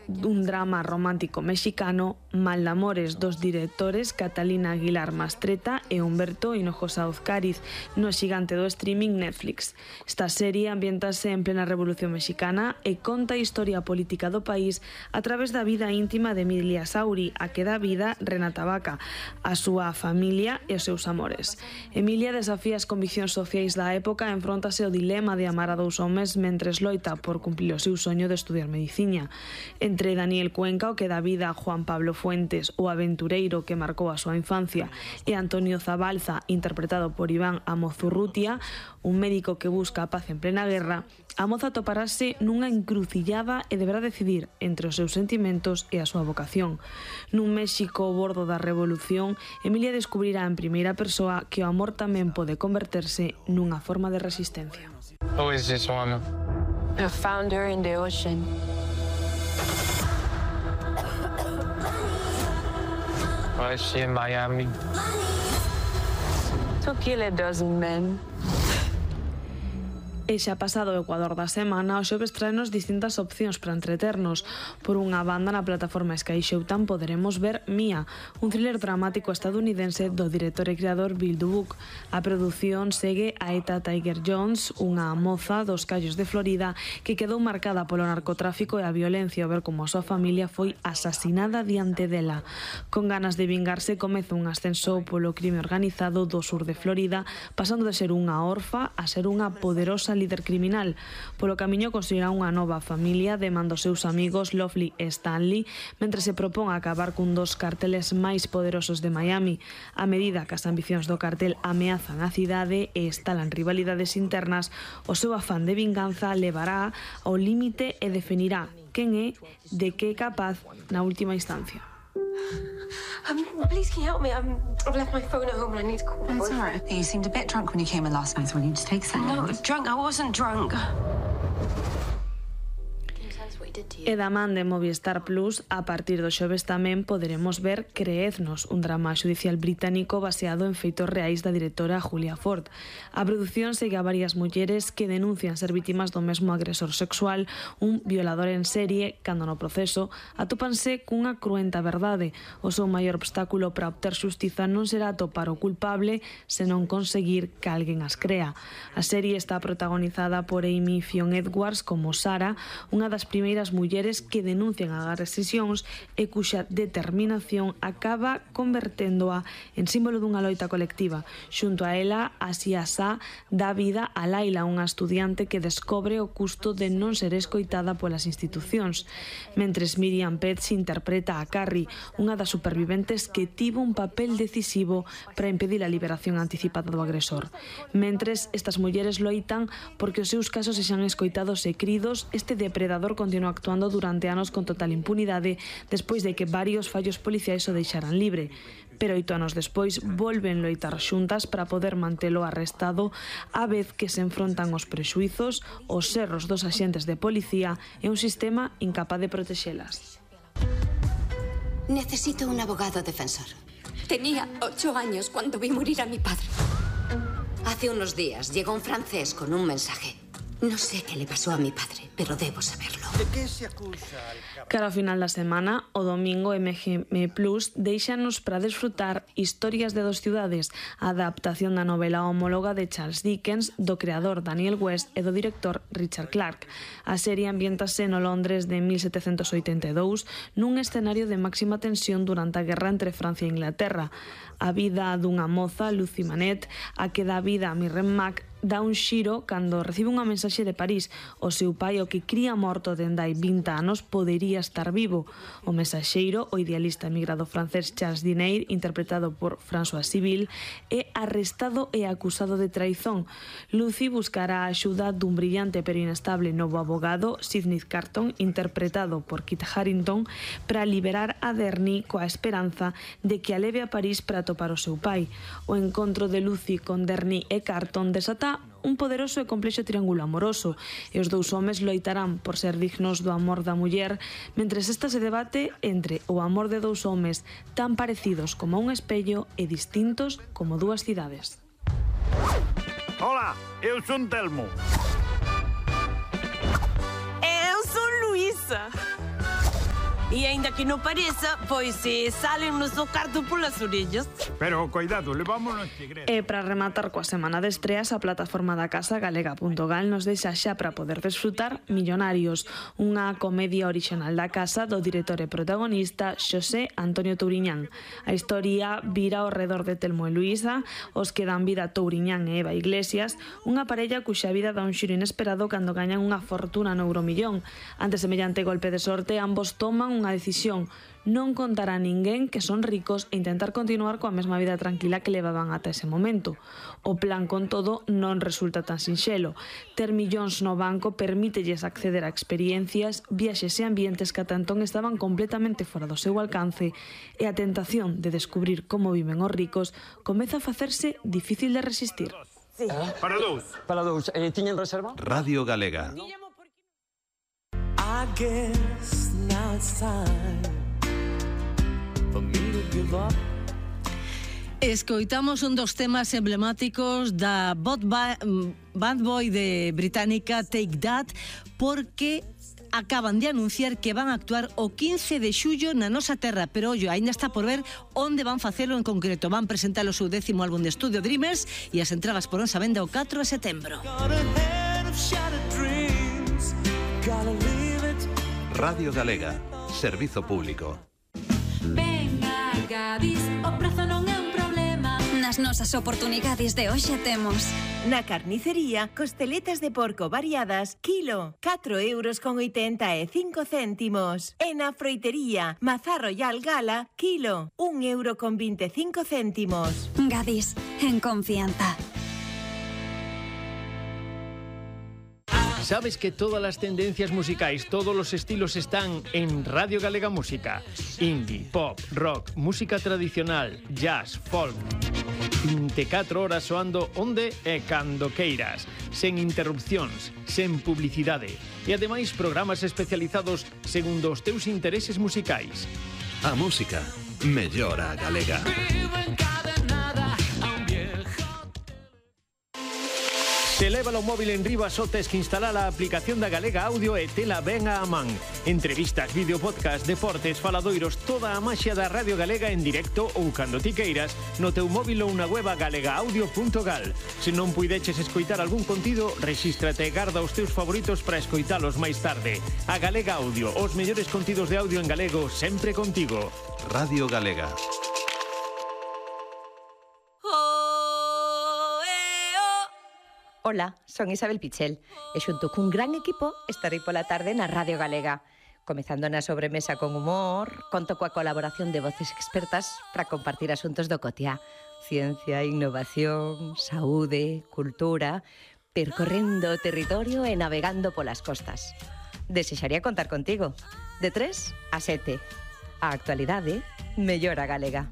un drama romántico mexicano, Mal de amores dos directores Catalina Aguilar Mastreta e Humberto Hinojosa Uzcariz no xigante do streaming Netflix. Esta serie ambientase en plena Revolución Mexicana e conta a historia política do país a través da vida íntima de Emilia Sauri, a que dá vida Renata Vaca, a súa familia e os seus amores. Emilia desafía as conviccións sociais da época e enfróntase ao dilema de amar a dous homes mentres loita por cumplir o seu soño de estudiar medicina. Entre Daniel Cuenca, o que dá vida a Juan Pablo Fuentes, o aventureiro que marcou a súa infancia, e Antonio Zabalza, interpretado por Iván Amozurrutia, un médico que busca a paz en plena guerra, a moza toparase nunha encrucillada e deberá decidir entre os seus sentimentos e a súa vocación. Nun México ao bordo da revolución, Emilia descubrirá en primeira persoa que o amor tamén pode converterse nunha forma de resistencia. Who is this woman? A founder in the ocean. Why is she in Miami? To kill a dozen men. E xa pasado o Ecuador da semana, o xoves traenos distintas opcións para entreternos. Por unha banda, na plataforma Sky Showtime poderemos ver Mia, un thriller dramático estadounidense do director e creador Bill Dubuque. A produción segue a Eta Tiger Jones, unha moza dos Callos de Florida que quedou marcada polo narcotráfico e a violencia ao ver como a súa familia foi asasinada diante dela. Con ganas de vingarse, comeza un ascenso polo crime organizado do sur de Florida, pasando de ser unha orfa a ser unha poderosa líder criminal. Polo camiño construirá unha nova familia de man dos seus amigos Lovely e Stanley, mentre se propón acabar cun dos carteles máis poderosos de Miami. A medida que as ambicións do cartel ameazan a cidade e estalan rivalidades internas, o seu afán de vinganza levará ao límite e definirá quen é, de que é capaz na última instancia. Please, can you help me? I've left my phone at home and I need to call my boyfriend. It's all right. You seemed a bit drunk when you came in last night, so will you just take a second? No, drunk. I wasn't drunk. E da man de Movistar Plus, a partir do xoves tamén poderemos ver Creednos, un drama xudicial británico baseado en feitos reais da directora Julia Ford. A produción segue a varias mulleres que denuncian ser vítimas do mesmo agresor sexual, un violador en serie, cando no proceso atópanse cunha cruenta verdade. O seu maior obstáculo para obter xustiza non será atopar o culpable, senón conseguir que alguén as crea. A serie está protagonizada por Amy Fionn Edwards como Sara, unha das primeiras mulleres que denuncian as agresións e cuxa determinación acaba converténdoa en símbolo dunha loita colectiva. Xunto a ela, Asia Sa dá vida a Laila, unha estudiante que descobre o custo de non ser escoitada polas institucións. Mentres Miriam Petz interpreta a Carrie, unha das superviventes que tivo un papel decisivo para impedir a liberación anticipada do agresor. Mentres estas mulleres loitan porque os seus casos sexan escoitados e cridos, este depredador continúa actuando durante anos con total impunidade despois de que varios fallos policiais o deixaran libre. Pero 8 anos despois volven loitar xuntas para poder mantelo arrestado, a vez que se enfrontan os prexuizos, os erros dos axentes de policía e un sistema incapaz de protexelas. Necesito un abogado defensor. Tenía 8 años cuando vi morir a mi padre. Hace unos días llegó un francés con un mensaje. No sé qué le pasó a mi padre, pero debo saberlo. Cara ao final da semana, o domingo MGM Plus deixanos para desfrutar Historias de dos ciudades, a adaptación da novela homóloga de Charles Dickens, do creador Daniel West e do director Richard Clarke. A serie ambiéntase no Londres de 1782, nun escenario de máxima tensión durante a guerra entre Francia e Inglaterra. A vida dunha moza, Lucy Manette, a que dá vida a Mirren Mac, dá un xiro cando recibe unha mensaxe de París. O seu pai, o que cría morto dende hai 20 anos, podería estar vivo. O mensaxeiro, o idealista emigrado francés Charles Dinair, interpretado por François Civil, é arrestado e acusado de traizón. Lucy buscará a axuda dun brillante pero inestable novo abogado, Sidney Carton, interpretado por Kit Harington, para liberar a Derny coa esperanza de que a leve a París para atopar o seu pai. O encontro de Lucy con Derny e Carton desata un poderoso e complexo triángulo amoroso, e os dous homes loitarán por ser dignos do amor da muller, mentres esta se debate entre o amor de dous homes tan parecidos como un espello e distintos como dúas cidades. Hola, eu son Telmo. Eu sou Luísa. E aínda que non pareza, pois salen nos o carto polas orellas. Pero, cuidado, levámonos segredo. E para rematar coa semana de estreas, a plataforma da casa galega.gal nos deixa xa para poder desfrutar Millonarios, unha comedia orixinal da casa do director e protagonista Xosé Antonio Touriñán. A historia vira ao redor de Telmo e Luísa, os que dan vida Touriñán e Eva Iglesias, unha parella cuxa vida dá un xiro inesperado cando gañan unha fortuna no Euromillón. Ante semellante golpe de sorte, ambos toman unha decisión: non contar a ninguén que son ricos e intentar continuar coa mesma vida tranquila que levaban ata ese momento. O plan, con todo, non resulta tan sinxelo. Ter millóns no banco permítelles acceder a experiencias, viaxes e ambientes que ata entón estaban completamente fora do seu alcance, e a tentación de descubrir como viven os ricos comeza a facerse difícil de resistir. Sí. Para dous. Para dous. Tiñen reserva? Radio Galega. I guess now it's time for me to give up. Escoitamos un dos temas emblemáticos da bad boy de británica Take That, porque acaban de anunciar que van a actuar o 15 de xullo na nosa terra, pero ollo, aínda está por ver onde van facelo en concreto. Van presentar o seu 10º álbum de estudio, Dreamers, e as entradas poronse a venda o 4 de setembro. Radio Galega, servizo público. Venga, Gadis, o prazo non é un problema. Nas nosas oportunidades de hoxe temos na carnicería, costeletas de porco variadas, kilo, 4,85 €. E na froitería, mazá royal gala, kilo, 1,25 €. Gadis, en confianza. ¿Sabes que todas las tendencias musicais, todos los estilos están en Radio Galega Música? Indie, pop, rock, música tradicional, jazz, folk. 24 horas soando onde e cando queiras, sen interrupcións, sen publicidade. E ademais programas especializados segundo os teus intereses musicais. A música mellora a galega. Se leva o móvil en riba, só tes que instalar a aplicación da Galega Audio e tela ben a man. Entrevistas, vídeo, podcast, deportes, faladoiros, toda a maxia da Radio Galega en directo ou cando ti queiras no teu móvil ou na web galegaaudio.gal. Se non puideches escoitar algún contido, rexístrate e garda os teus favoritos para escoitalos máis tarde. A Galega Audio, os mellores contidos de audio en galego sempre contigo. Radio Galega. Ola, son Isabel Pichel e xunto cun gran equipo estarei pola tarde na Radio Galega. Comezando na sobremesa con humor, conto coa colaboración de voces expertas para compartir asuntos do cotiá. Ciencia, innovación, saúde, cultura, percorrendo o territorio e navegando polas costas. Desexaría contar contigo. De 3 a 7. A actualidade mellora galega.